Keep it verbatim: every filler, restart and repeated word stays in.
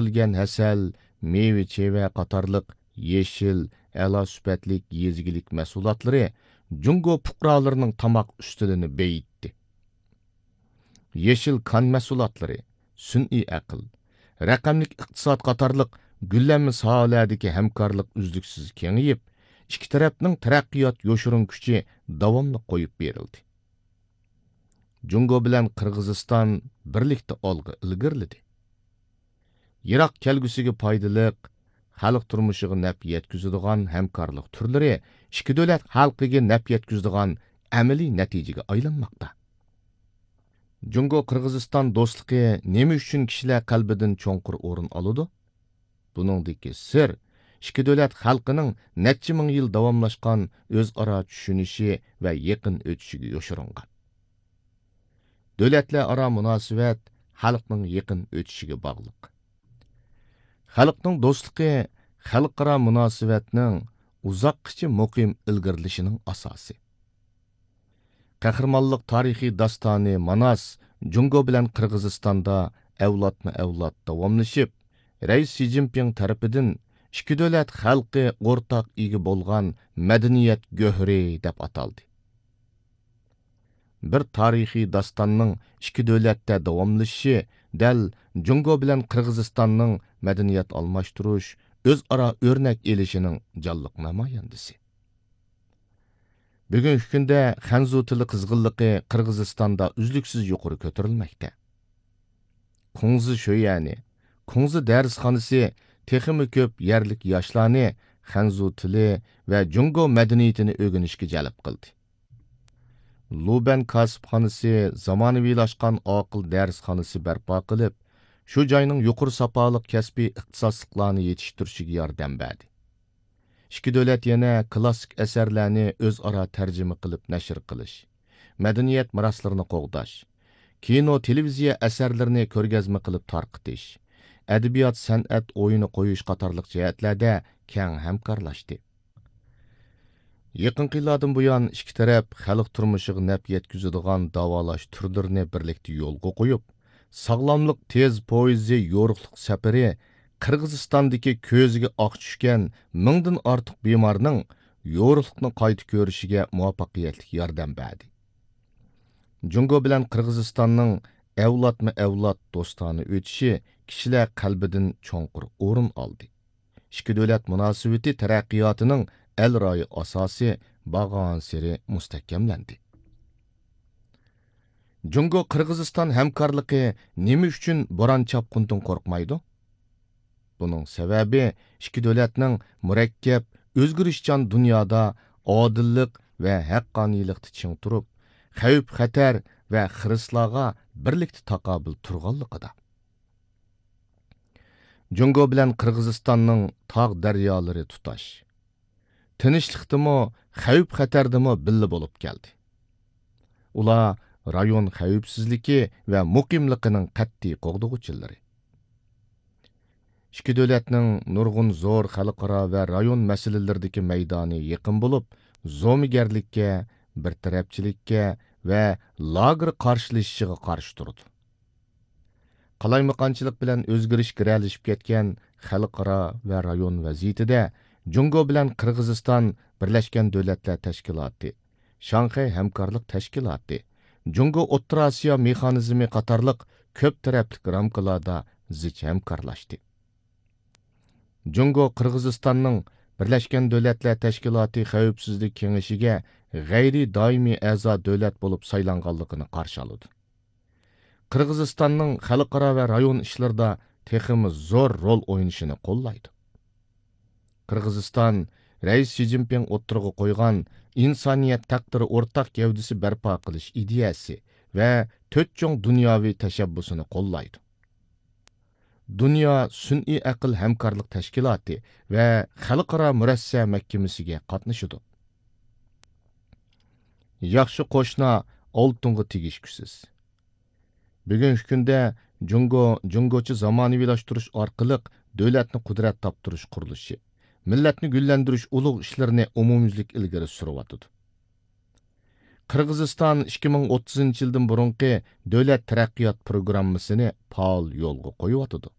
يېتىلگەن ھەسەل، مېۋە-چېۋە قاتارلىق يېشىل، ئەلا سۈپەتلىك يېزا ئىگىلىك مەھسۇلاتلىرى جۇڭگو پۇقرالىرىنىڭ تاماق ئۈستىلىنى بېيىتتى. يېشىل كان مەھسۇلاتلىرى، سۈنئىي ئەقىل، رەقەملىك ئىقتىساد قاتارلىق گۈللەنمە ساھەلەردىكى ھەمكارلىق ئۈزلۈكسىز كېڭىيىپ، ئىككى تەرەپنىڭ تەرەققىيات يوشۇرۇن كۈچى داۋاملىق قويۇپ بېرىلدى. جۇڭگو بىلەن قىرغىزىستان بىرلىكتە ئالغا ئىلگىرىلىدى. يىراق كەلگۈسىگە پايدىلىق، خەلق تۇرمۇشىغا نەپ يەتكۈزىدىغان ھەمكارلىق تۈرلىرى ئىككى دۆلەت خەلقىگە نەپ يەتكۈزىدىغان ئەمەلىي نەتىجىگە ئايلانماقتا. جۇڭگو قىرغىزىستان دوستلۇقى نېمە ئۈچۈن كىشىلەر قەلبىدىن چوڭقۇر ئورۇن ئالىدۇ؟ بۇنىڭدىكى سىر ئىككى دۆلەت خەلقىنىڭ نەچچە مىڭ يىل داۋاملاشقان ئۆزئارا چۈشىنىشى ۋە يېقىن ئۆتۈشىگە يوشۇرۇنغان. دۆلەتلەر ئارا مۇناسىۋەت خەلقنىڭ يېقىن ئۆتۈشىگە باغلىق. خەلقنىڭ دوستلۇقى خەلقئارا مۇناسىۋەتنىڭ ئۇزاققىچە مۇقىم ئىلگىرىلىشىنىڭ ئاساسى. قەھرىمانلىق تارىخىي داستانى ماناس جۇڭگو بىلەن قىرغىزىستاندا ئەۋلادمۇ ئەۋلاد داۋاملىشىپ، رەئىس شى جىنپىڭ تەرىپىدىن ئىككى دۆلەت خەلقى ئورتاق ئىگە بولغان مەدەنىيەت گۆھىرى دەپ ئاتالدى. بىر تارىخىي داستاننىڭ ئىككى دۆلەتتە داۋاملىشىشى دەل جۇڭگو بىلەن قىرغىزىستاننىڭ مەدەنىيەت ئالماشتۇرۇش، ئۆزئارا ئۆرنەك ئېلىشىنىڭ جانلىق نامايەندىسى. بۈگۈنكى كۈندە خەنزۇ تىلى قىزغىنلىقى قىرغىزىستاندا ئۈزلۈكسىز يۇقىرى كۆتۈرۈلمەكتە. كۇڭزى شۆيەنى، كۇڭزى دەرسخانىسى تېخىمۇ كۆپ يەرلىك ياشلارنى خەنزۇ تىلى ۋە جۇڭگو مەدەنىيىتىنى ئۆگىنىشكە جەلپ قىلدى. لۇبەن كاسىپخانىسى زامانىۋىلاشقان ئاقىل دەرسخانىسى بەرپا قىلىپ، شۇ جاينىڭ يۇقىرى ساپالىق كەسپىي ئىختىساسلىقلارنى يېتىشتۈرۈشىگە ياردەم بەردى. ئىككى دۆلەت يەنە كلاسسىك ئەسەرلەرنى ئۆزئارا تەرجىمە قىلىپ نەشر قىلىش، مەدەنىيەت مىراسلىرىنى قوغداش، كىنو، تېلېۋىزىيە ئەسەرلىرىنى كۆرگەزمە قىلىپ تارقىتىش، ئەدەبىيات، سەنئەت ئويۇنى قويۇش قاتارلىق جەھەتلەردە كەڭ ھەمكارلاشتى. يېقىنقى يىللاردىن بۇيان، ئىككى تەرەپ خەلق تۇرمۇشىغا نەپ يەتكۈزىدىغان داۋالاش تۈرلىرىنى بىرلىكتە يولغا قويۇپ، ساغلاملىق تېز پويىزى يورۇقلۇق سەپىرى قىرغىزىستاندىكى كۆزىگە ئاق چۈشكەن مىڭدىن ئارتۇق بىمارنىڭ يورۇقلۇقنى قايتا كۆرۈشىگە مۇۋەپپەقىيەتلىك ياردەم بەردى. جۇڭگو بىلەن قىرغىزىستاننىڭ ئەۋلادمۇ ئەۋلاد دوستانە ئۆتۈشى كىشىلەر قەلبىدىن چوڭقۇر ئورۇن ئالدى. ئىككى دۆلەت مۇناسىۋىتى تەرەققىياتىنىڭ ئەل رايى ئاساسى بارغانسېرى مۇستەھكەملەندى. جۇڭگو قىرغىزىستان ھەمكارلىقى نېمە ئۈچۈن بوران چاپقۇندىن قورقمايدۇ؟ بۇنىڭ سەۋەبى ئىككى دۆلەتنىڭ مۇرەككەپ، ئۆزگىرىشچان دۇنيادا ئادىللىق ۋە ھەققانىيلىقتا چىڭ تۇرۇپ، خەۋپ-خەتەر ۋە خىرىسلارغا بىرلىكتە تاقابىل تۇرغانلىقىدا. جۇڭگو بىلەن قىرغىزىستاننىڭ تاغ دەريالىرى تۇتاش. تىنچلىقتىمۇ، خەۋپ-خەتەردىمۇ بىللە بولۇپ كەلدى. ئۇلار رايون خەۋپسىزلىكى ۋە مۇقىملىقىنىڭ قەتئىي قوغدىغۇچىلىرى. ئىككى دۆلەتنىڭ نۇرغۇن زور خەلقئارا ۋە رايون مەسىلىلىرىدىكى مەيدانى يېقىن بولۇپ، زومىگەرلىككە، بىر تەرەپچىلىككە ۋە لاگېر قارشىلىشىشىغا قارشى تۇرىدۇ. قالايمىقانچىلىق بىلەن ئۆزگىرىش گىرەلىشىپ كەتكەن خەلقئارا ۋە رايون ۋەزىيىتىدە جۇڭگو بىلەن قىرغىزىستان بىرلەشكەن دۆلەتلەر تەشكىلاتى، شاڭخەي ھەمكارلىق تەشكىلاتى، جۇڭگو ئوتتۇرا ئاسىيا مېخانىزمى قاتارلىق كۆپ تەرەپلىك رامكىلاردا زىچ ھەمكارلاشتى. جۇڭگو قىرغىزىستاننىڭ بىرلەشكەن دۆلەتلەر تەشكىلاتى خەۋپسىزلىك كېڭىشىگە غەيرىي دائىمىي ئەزا دۆلەت بولۇپ سايلانغانلىقىنى قارشى ئالىدۇ. قىرغىزىستاننىڭ خەلقئارا ۋە رايون ئىشلىرىدا تېخىمۇ زور رول ئوينىشىنى قوللايدۇ. قىرغىزىستان رەئىس شى جىنپىڭ ئوتتۇرىغا قويغان ئىنسانىيەت تەقدىرى ئورتاق گەۋدىسى بەرپا قىلىش ئىدىيەسى ۋە تۆت چوڭ دۇنياۋى تەشەببۇسىنى قوللايدۇ. دۇنيا سۈنئىي ئەقىل ھەمكارلىق تەشكىلاتى ۋە خەلقئارا مۇرەسسە مەھكىمىسىگە قاتنىشىدۇ. ياخشى قوشنا ئالتۇنغا تېگىشكۈسىز. بۈگۈنكى كۈندە جۇڭگو جۇڭگوچە زامانىۋىلاشتۇرۇش ئارقىلىق دۆلەتنى قۇدرەت تاپتۇرۇش قۇرۇلۇشى، مىللەتنى گۈللەندۈرۈش ئۇلۇغ ئىشلىرىنى ئومۇميۈزلۈك ئىلگىرى سۈرۈۋاتىدۇ. قىرغىزىستان ئىككى مىڭ ئوتتۇزىنچى يىلدىن بۇرۇنقى دۆلەت تەرەققىيات پروگراممىسىنى پائال يولغا قويۇۋاتىدۇ.